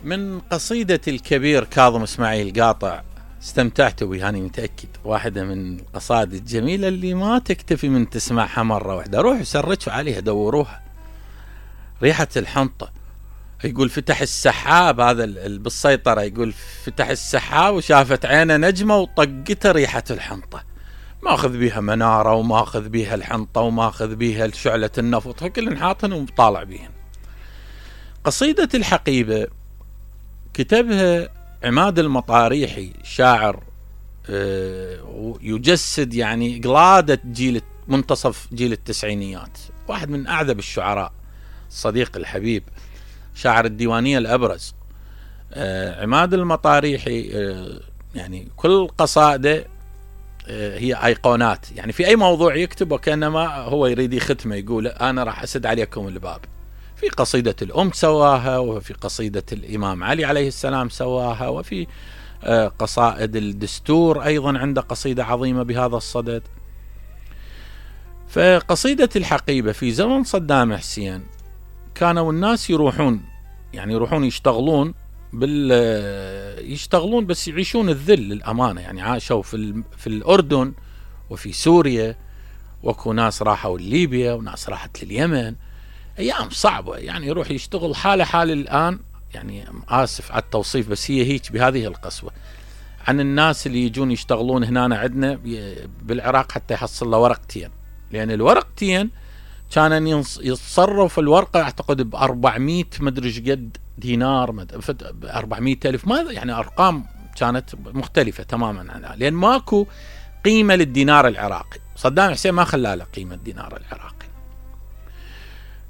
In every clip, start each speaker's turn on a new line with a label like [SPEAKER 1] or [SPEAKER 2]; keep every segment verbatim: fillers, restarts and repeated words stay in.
[SPEAKER 1] من قصيدة الكبير كاظم اسماعيل قاطع، استمتعتوا بها أنا متأكد. واحدة من القصائد الجميلة اللي ما تكتفي من تسمعها مرة واحدة، روحوا سرجوا عليها دوروها. ريحة الحنطة، يقول فتح السحاب، هذا بالسيطرة، يقول فتح السحاب وشافت عينه نجمة وطقته ريحة الحنطة. ماخذ بيها منارة وماخذ بيها الحنطة وماخذ بيها شعلة النفط، كل حاطن وطالع بيهن. قصيدة الحقيبة كتبها عماد المطاريحي، شاعر يجسد يعني قلادة جيل منتصف جيل التسعينيات، واحد من أعذب الشعراء، الصديق الحبيب، شاعر الديوانية الأبرز. عماد المطاريحي يعني كل قصائده هي أيقونات، يعني في أي موضوع يكتب وكأنما هو يريد يختمه، يقول أنا راح أسد عليكم الباب. في قصيدة الأم سواها، وفي قصيدة الإمام علي عليه السلام سواها، وفي قصائد الدستور أيضا عنده قصيدة عظيمة بهذا الصدد. فقصيدة الحقيبة في زمن صدام حسين كانوا الناس يروحون يعني يروحون يشتغلون بال يشتغلون بس يعيشون الذل للأمانة، يعني عاشوا في في الأردن وفي سوريا، وكو ناس راحوا لليبيا وناس راحت لليمن، أيام صعبة، يعني يروح يشتغل حالة حال الآن. يعني آسف على التوصيف بس هي هيك بهذه القسوة عن الناس اللي يجون يشتغلون هنا عندنا بالعراق حتى يحصل له ورقتين، لأن الورقتين كان يتصرف الورقة أعتقد بأربعمية مدري قد دينار، أربعمية ألف، ما يعني أرقام كانت مختلفة تماما عنها، لأن ماكو قيمة للدينار العراقي. صدام حسين ما خلى له قيمة الدينار العراقي.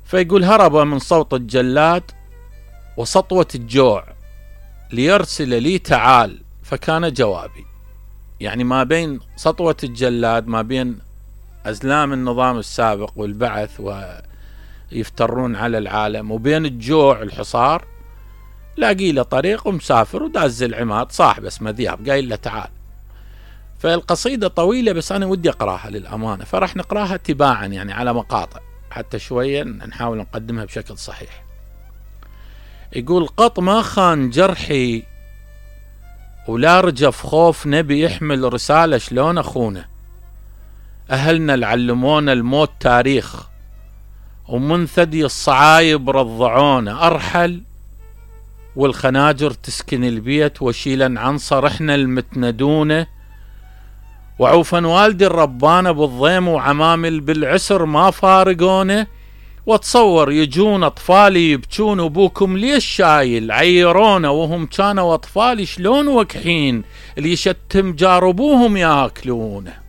[SPEAKER 1] فيقول هرب من صوت الجلاد وسطوة الجوع ليرسل لي تعال، فكان جوابي. يعني ما بين سطوة الجلاد، ما بين أزلام النظام السابق والبعث ويفترون على العالم، وبين الجوع الحصار، لاقي له طريق ومسافر وداز العماد صاحب اسمه ذياب قايل له تعال. فالقصيدة طويلة بس أنا ودي أقراها للأمانة، فرح نقراها تباعا يعني على مقاطع حتى شوية نحاول نقدمها بشكل صحيح. يقول قط ما خان جرحي ولا رجف خوف، نبي يحمل رسالة شلون أخونه. أهلنا العلمونا الموت تاريخ، ومن ثدي الصعايب رضعونا. أرحل والخناجر تسكن البيت، وشيلا عنصر إحنا المتندونه. وعوفا والدي الربانة بالضيم، وعمامل بالعسر ما فارقونه. واتصور يجون أطفالي يبكون، وبوكم ليش شايل عيرونا، وهم كانوا أطفالي شلون وكحين اللي يشتم جاربوهم ياكلونه.